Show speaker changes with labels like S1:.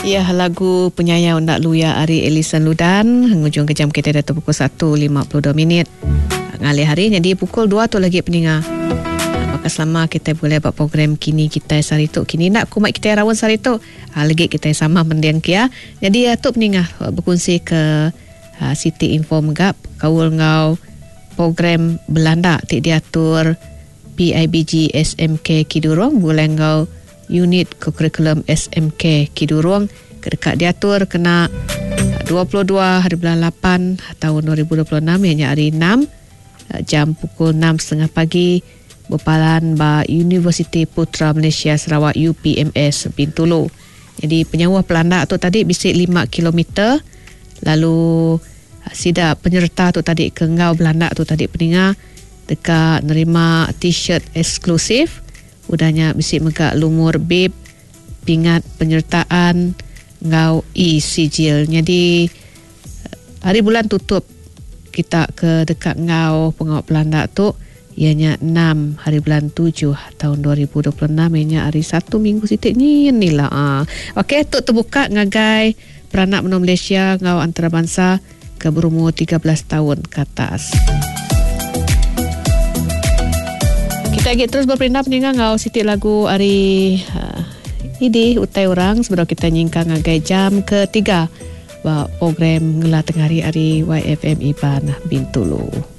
S1: Iya lagu penyayau enda luya ari Ellison Ludan ngujung ke jam kitai diatu pukul satu 52 minit. Ngalih hari nyadi pukul dua tu lagi peninga. Baka selama kitai begulai ba program kini kitai sehari tu. Kini enda ku mai kitai raun sehari tu. Legi kitai sama mending kia. Nyadi tu peninga bekunsi ke siti info mega bekaul enggau program belanda ti diatur PIBG SMK Kidurong begulai enggau Unit Kokurikulum SMK Kidurong ke deka diatur kena 22 hari bulan lapan taun 2026 iya nya hari enam jam pukul enam setengah pagi bepalan ba Universiti Putra Malaysia Sarawak UPMS Bintulu. Nyadi penyauh pelanda tu tadi bisi lima kilometer lalu sida penyereta tu tadi ke enggau belanda tu tadi peninga deka nerima t-shirt eksklusif. Udah nya bisi mega lumur bib, pingat penyertaan enggau e-sijil. Nyadi hari bulan tutup kita ke deka enggau pengawa pelanda tu iya nya enam hari bulan tujuh taun 2026 iya nya hari Satu minggu siti nyin ila. Okey tu tebuka ngagai peranak menua Malaysia enggau antarabansa ke berumur 13 taun ke atas. Kita agi terus beperindang peninga enggau siti lagu ari uh, Idi Utai Orang sebedau kita nyingkang ngagai jam ketiga ba program Ngela Tengah Hari ari YFM Iban Bintulu.